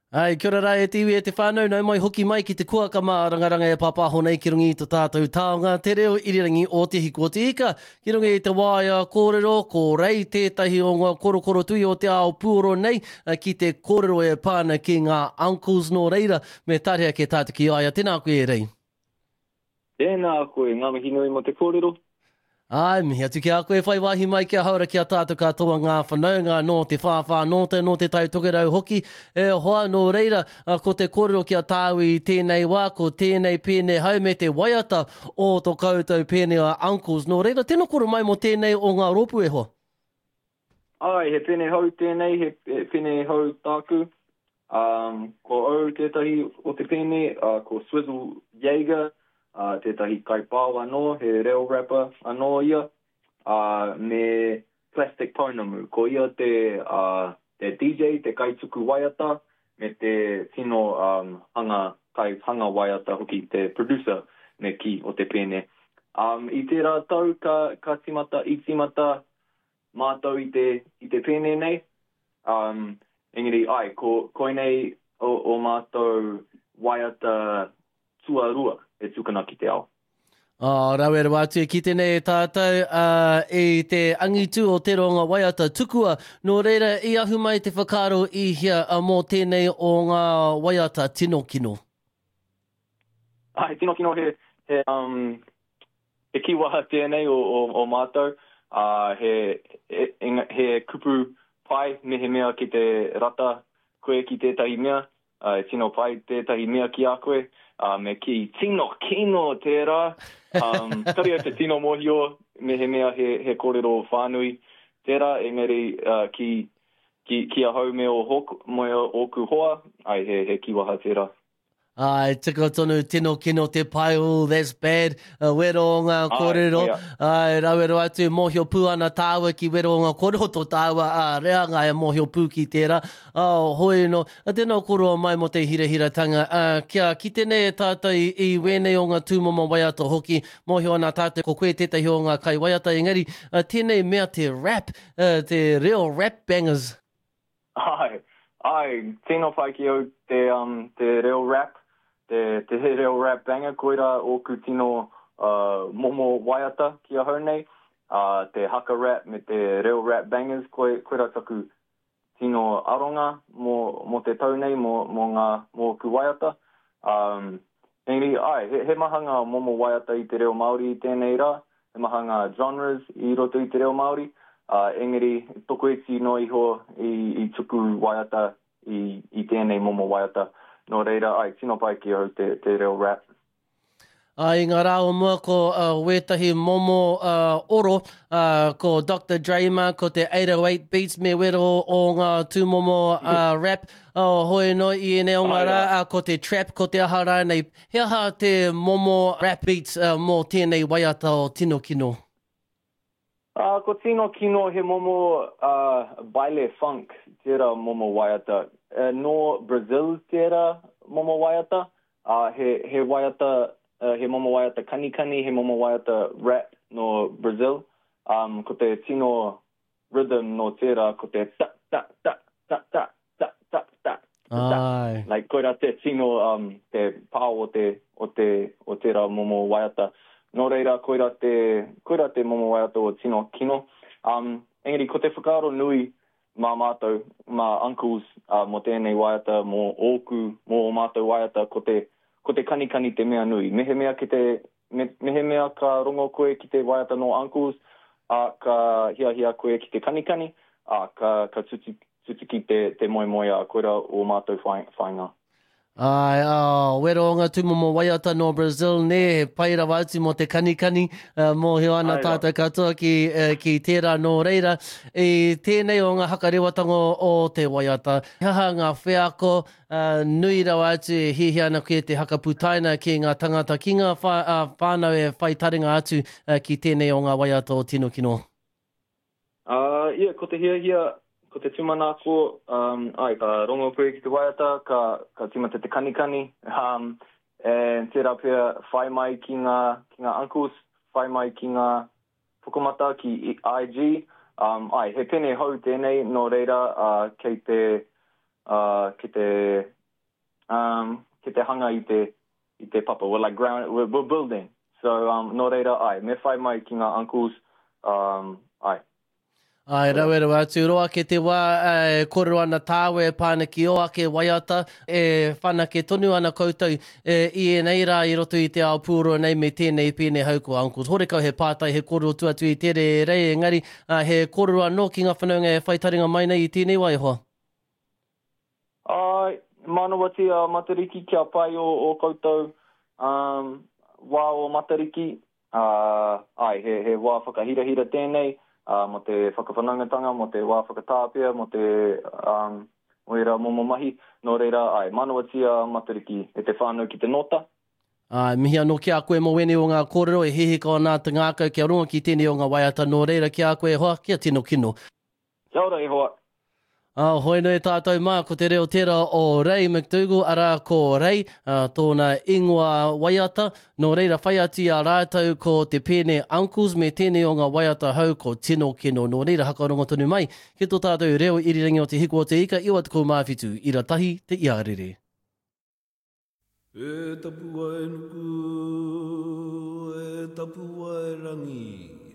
Ai, kia ora rā e te iwi e te whānau, nau mai hoki mai ki te kuaka mārangaranga e pāpāho nei ki runga i to tātou taonga, te reo irirangi o Te Hiku o Te Ika. Ki runga i te waea kōrero, ko Rei tētahi o ngā korokoro tui o te ao puoro nei ki te kōrero e pā ana ki ngā uncles nō reira, me tarea ke tātou ki a ia. Tēnā koe e Rei. Tēnā koe, ngā mihi nui mō te kōrero. Āe, mihi atu ki a koe whai wāhi mai kia haora ki a tātou katoa ngā whanaunga nō te whāwhā nō te, nō te Tai Tokerau hoki e hoa nō reira ko te kōrero ki a tāu i tēnei wā ko tēnei pēne hau me te waiata o to koutou pēne a Uncles nō reira tēnā koro mai mō tēnei o ngā rōpū e hoa. Āe, he pene hou tēnei, he, he pene hou tāku. Um, ko au tētahi o te pene, uh, ko Swizzle Jaeger, uh, tētahi kaipao anō, he reo rapper anō ia, uh, me Plastic Pounamu. Ko ia te, uh, te DJ, te kaituku waiata, me te tino um, hanga, kai hanga waiata hoki, te producer me kī o te pēne. Um, I tērā tau ka, ka timata, i timata mātou i te, i te pēne nei. Um, engari, ai, ko, koinei o, o mātou waiata tuarua e tukuna ki te ao. Oh, rawe rawa atu e kite nei e tātou uh, i te angitu o te ronga waiata tukua. Nō reira, i ahu mai te whakaaro i hea uh, mō tēnei o ngā waiata tino kino? Ai, tino kino he, he, um, He kīwaha tēnei o, o, o mātou, ā, he, he, he kupu pai mehemea ki te rata koe ki tētahi mea, ā, e tino pai tētahi mea ki a koe, ā, me kī, tino kino tērā! Um, kare au te tino mōhio mehemea he, he kōrero whānui tērā, engari uh, ki, ki, ki ahau me ō hok, me ōku hoa, ai, he, he kīwaha tērā. Āe, tika tonu, tino kino te pai, ooh, that's bad, uh, wero o ngā kōrero, āe, rawero atu, mōhio pū ana tāua ki wero o ngā kōrero tō tāua, ā, reanga e mōhio pū ki tērā, oh, hoi no, tēnā koroa mai mō te hirahiratanga, ā, kia kite nei e tātou i, i wēnei o ngā tūmomo waiata hoki, mōhio ana tātou ko koe tētahi o ngā kaiwaiata, engari, tēnei mea te rap, te reo rap bangers. Āe, āe, tino pai ki au te, um, te reo rap, te, te reo rap banger, koirā ōku tino uh, momo waiata ki ahau nei, uh, te haka rap me te reo rap bangers, koi, koirā taku tino aronga mō, mō te tau nei, mō, mō ngā, mō ōku waiata. Um, engari, āe, he, he maha ngā momo waiata i te reo Māori i tēnei rā, He maha ngā genres i roto i te reo Māori, ā, engari tokoiti noa iho i, i tuku waiata i, i tēnei momo waiata. Nō reira, āe, tino pai ki ahau te, te reo rap. Ā, i ngā rā o mua ko uh, wētahi momo uh, oro, uh, ko Doctor Dre mā, ko te 808 beats me wero o ngā tūmomo uh, rap, uh, hoi no i ēnei o ngā rā, uh, ko te trap, ko te aha rānei. He aha te momo rap beats mō tēnei waiata o Tino Kino? Uh, ko Tino Kino he momo uh, baile funk tērā momo waiata. Uh, nō Brazil tērā momo waiata. Uh, he, he waiata, uh, he momo waiata kanikani, he momo waiata rap nō Brazil. Um, ko te tino rhythm nō tērā ko te ta ta ta ta ta ta ta ta ta ta. Ai. Like koirā te tino um, te pao o te, o te, o tērā momo waiata. Nō reira, koirā te, koirā te momo waiata o Tino Kino. Um, engari ko te whakaaro nui mā mātou, mā uncles, uh, mō tēnei waiata, mō ōku, mō ō mātou waiata, ko te, ko te kanikani te mea nui. Mehemea ki te Me, mehemea ka rongo koe ki te waiata nō Uncles, ā, ka hiahia koe ki te kanikani, ā, ka, ka tutu, tutuki te, te moemoeā, koirā ō mātou whai, whainga. Āe, ā, wero o ngā tūmomo waiata nō Brazil, nē, he pai rawa atu mō te kanikani, ā, mōhio ana Āe rā. tātou katoa ki, ki tērā nō reira, i tēnei o ngā hakarewatanga o te waiata, he aha ngā wheako, Ā, nui rawa atu e hiahia ana koe te hakaputaina ki ngā tangata, ki ngā wha, ā, whānau e whai taringa atu ki tēnei o ngā waiata o Tino Kino. Ā, ia, ko te hiahia, ko te tūmanako, um, āe, ka rongo koe ki te waiata, ka, ka tīmata te kanikani, um, and tērā pea whai mai ki ngā, ki ngā uncles, whai mai ki ngā pukamata, ki IG, um, āe, he pene hou tēnei, nō reira, ā, kei te, ā, ki te um, ki te hanga i te, i te papa. We're like ground, we're, we're building. So, um, nō reira, ai, me whai mai ki ngā uncles, um, ai. Ai, rawe rawa atu. Roa ake te wā e kōrero ana tāua e pā ana ki ō ake waiata, e whanake tonu ana koutou e, i ēnei rā i roto i te ao pūoro nei me tēnei pēne hau ko Uncles. Horekau he pātai, he kōrero tu atu i tere e rei, engari he kōrero anō ki ngā whanaunga e whai taringa mai nei i tēnei wā e hoa. Āe, mānawatia a Matariki kia pai ō, ō koutou um, wā o Matariki. Ā, āe, he, he wā whakahirahira tēnei, ā, mō te whakawhanaungatanga, mō te wā whakatāpia, mō te, um, mō ērā momo mahi. Nō reira, āe, mānawatia a Matariki e te whānau ki te nōta. Āe, mihi anō ki a koe mō wēnei o ngā kōrero e hihiko ana te ngākau kia rongo ki tēnei o ngā waiata nō reira ki a koe e hoa, kia tino kino. Kia ora e hoa. Ā, hoi nei tātou mā, ko te reo tērā o Ray McDougall, arā ko Rei, ā, tōna ingoa waiata. Nō reira, whai atu i a rātou ko te pēne Uncles me tēnei o ngā waiata hou ko Tino Kino. Nō reira, hakarongo tonu mai ki tō tātou reo irirangi o Te Hiku o Te Ika, 97, ira tahi te iarere. E tapuwae nuku, e tapuwae rangi.